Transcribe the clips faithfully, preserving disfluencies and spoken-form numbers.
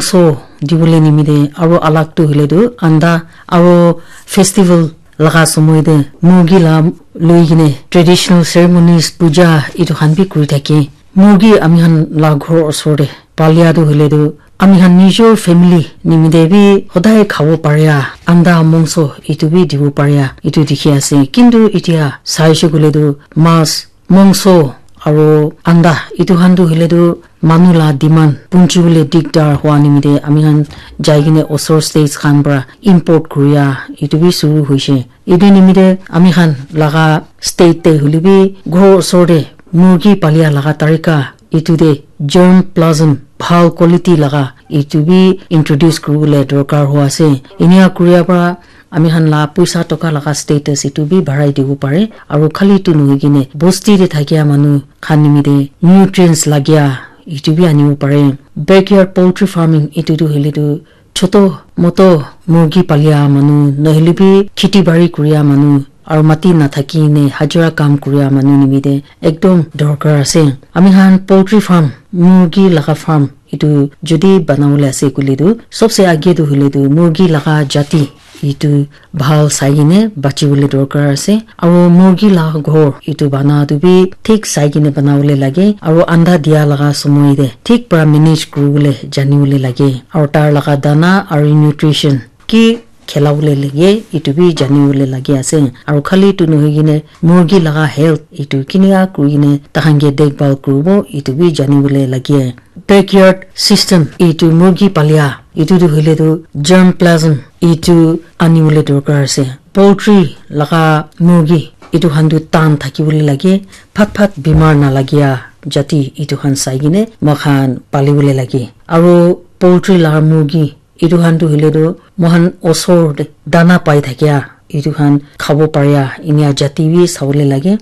So, dibole nimite aro alag tu hoile tu anda aro festival laga somoi te murgi la loi kene traditional ceremonies, puja etu khan bi kuri thake. Murgi ami khan la ghor osor te palia tu hoile tu ami khan nijor family nimite bi hodai khabo paria anda mongso etu bi dibo paria etu dikhi ase. Kintu etia saishe koile tu mas, mongso aro anda etu khan tu hoile tu manu la demand punchi bole dikdar hua nimite ami khan jai kene osor states khan para import kuria etu bi suru hoishe. Etu nimite ami khan laga state te hoile bi ghor osor te murgi palia laga tarika etu te germplasm bhal quality laga etu bi introduce kuribole dorkar hua ase. Enia kuria para ami khan la puisa toka laga status etu bi barai dibo pare. Aro khali tu nohoi kene bosti te thakia manu khan nimite nutrients lagia etu bi anibo pare. Backyard poultry farming etu tu hoile tu choto moto murgi palia manu, nohile bi kheti bari kuria manu, aro mati nathaki ne hajira kam kuria manu nimite ekdom dorkar ase. Ami khan poultry farm, murgi laga farm, etu jodi banabole ase koile tu, sobse age tu hoile tu murgi laga jati etu bhal sai kene bachibole dorkar ase. Aro murgi la ghor etu bana tu bi thik sai kene banabole lage. Aro anda dia laga somoi te thik para manage kuribole janibole lage. Aro tar laga dana aro nutrition ki khilabole lage etu bi janibole lage ase. Aro khali tu nohoi kene murgi laga health etu kinika kuri kene tahan ke dekbhal kuribo etu bi janibole lage. Backyard system etu murgi palia etu tu hoile tu germplasm etu anibole dorkar ase. Poultry laga murgi etu khan tu tan thakibole lage, phat phat bimar nalagia jati etu khan sai kene moi khan palibole lage. Aro poultry laga murgi etu khan tu hoile tu moi khan osor te dana pai thakia etu khan khabo paria enia jati bi sabole lage.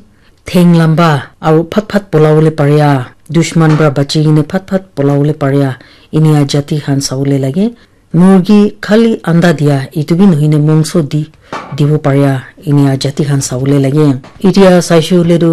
Theng lamba aro phat phat polabole paria, dushman para bachi kene phat phat polabole paria enia jati khan sabole lage. Murgi khali anda dia etu bi nohoi ne mongso di dibo paria enia jati khan sabole lage. Etia saishe hoile tu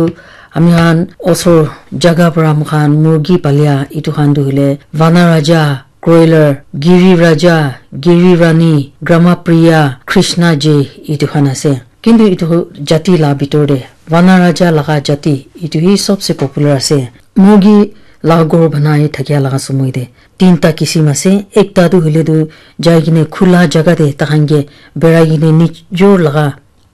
ami khan osor jaga para moi khan murgi palia etu khan tu hoile Vana Raja, Croiler, Giri Raja, Giri Rani, Grama Priya, Krishna J etu khan ase. Kintu etu jati la bitor te Vana Raja laga jati etu hi sobse popular ase. Murgi la ghor banai thakia laga somoi te tinta kisim ase. Ekta tu hoile tu jai kene khula jaga te tahan ke berai kene nijor laga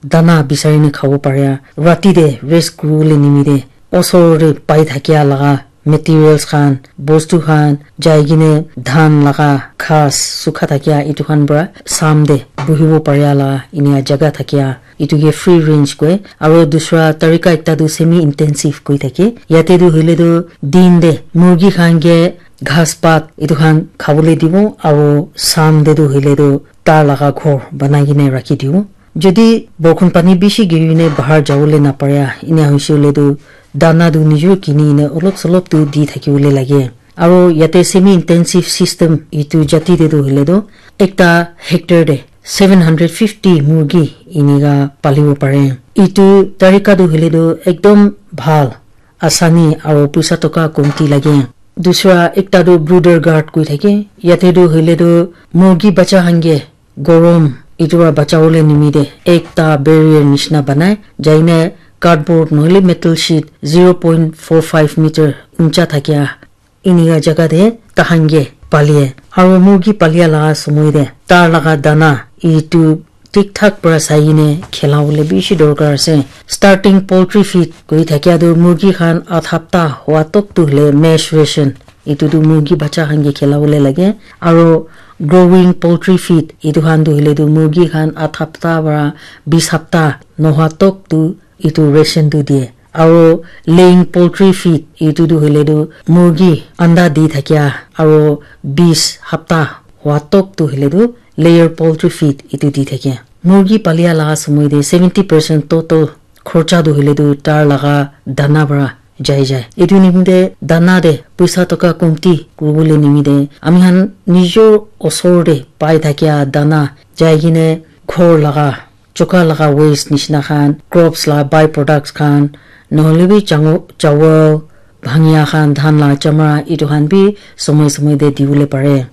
dana bisari ne khabo paria. Rati te rest kuribole nimite osor te pai thakia laga materials khan, bostu khan jai kene dhan laga ghas sukha thakia etu khan para sam te buhibo paria la enia jaga thakia etu ke free range koi. Aro dusra tarika ekta tu semi intensive koi thake. Yate tu hoile tu din te murgi khan ke ghas pat etu khan khabole dibo aro sam te tu hoile tu tar laga ghor banai kene rakhi dibo. Jodi borkhon pani bishi giri ne bahar jabole naparia enia hoise hoile tu dana tu nijor kini ne olop solop tu di thakibole lage. Aro yate semi intensive system etu jati te tu hoile tu ekta hectare te seven hundred fifty murgi enika palibo pare. Etu tarika tu hoile tu ekdom bhal, asani aro puisa toka komti lage. Dusra ekta tu brooder guard koi thake. Yate tu hoile tu murgi bacha khan ke gorom etu para bachabole nimite ekta barrier nishina banai jai ne cardboard nohole metal sheet zero point four five meter uncha thakia enika jaga te tahan ke palie. Aro murgi palia laga somoi te tar laga dana etu thik thak para sai kene khilabole bishi dorkar ase. Starting poultry feed koi thakia tu murgi khan aat hapta hua tok tu hoile mash ration etu tu murgi bacha khan ke khilabole lage. Aro growing poultry feed etu khan tu hoile tu murgi khan aat hapta para bis hapta nohua tok tu etu ration tu die. Aro laying poultry feed etu tu hoile tu murgi anda di thakia aro bis hapta hua tok tu hoile tu layer poultry feed etu di thake. Murgi palia laga somoi te seventy percent total khorcha tu hoile tu tar laga dana para jai jai. Etu nimite dana te puisa toka komti kuribole nimite ami khan nijor osor te pai thakia dana jai kene ghor laga choka laga waste nishina khan, crops la by products khan, nohole bi chango-, chawal, bhangia khan, dhan la chamra, etu khan bi somoi somoi te dibole pare.